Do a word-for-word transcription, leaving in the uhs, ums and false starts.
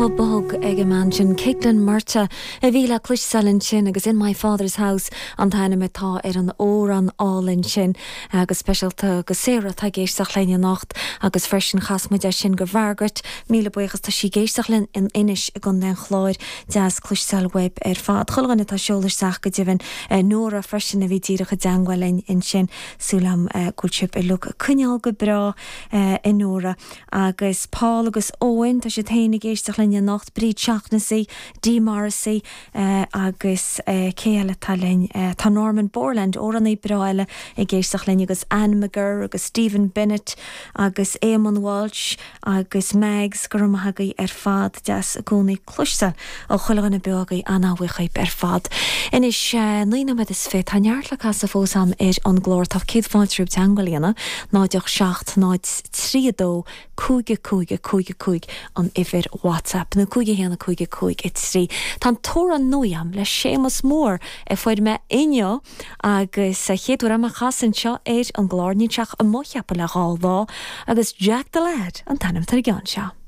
Guth bog ag an mbean sin Caitlin Murtagh a bhí le cloisteáil ansin agus In My Father's House an t-ainm atá ar an amhrán álainn sin agus speisialta go Sarah atá ag éisteacht linn anocht agus freisin chas muid é sin go Margaret míle buíochas tá sí ag éisteacht linn in Inis i gContae an Chláir deas cloisteáil uaibh ar fad. Chuile dhuine atá ag seoladh isteach go deimhin Nóra freisin a bhí díreach i dteagmháil linn ansin súil agam go bhfuil sibh uilig ag coinneáil go breá a Nóra agus Paul agus Owen tá siad féin ag éisteacht linn anocht Bríd Shaughnessy, Dee Morrissey agus cé eile atá linn tá Norman Borland amhránaí breá eile ag éisteacht linn agus Anne McGurr agus Stephen Bennett agus Eamon Walsh agus Mags go raibh maith agaibh ar fad deas i gcónaí cloisteáil ó chuile dhuine beo agaibh an-bhuíoch ar fad. Anois naoi nóiméad is fiche tá neart le casadh fós agam ar an gclár tá céad fáilte romhaibh teagmháil a dhéanamh náid ocht seacht náid trí a dó cúig a cúig a cúig a cúig an uimhir WhatsApp nó cúig a haon a cúig a cúig a trí. Tá an t-amhrán nua agam le Séamus Mór a fuair mé inniu agus a chéad uair dom é a chasadh anseo ar an gclár níl sé ach amuigh cheapfainn le dhá lá agus Jack the Lad an t-ainm atá ar an gceann seo.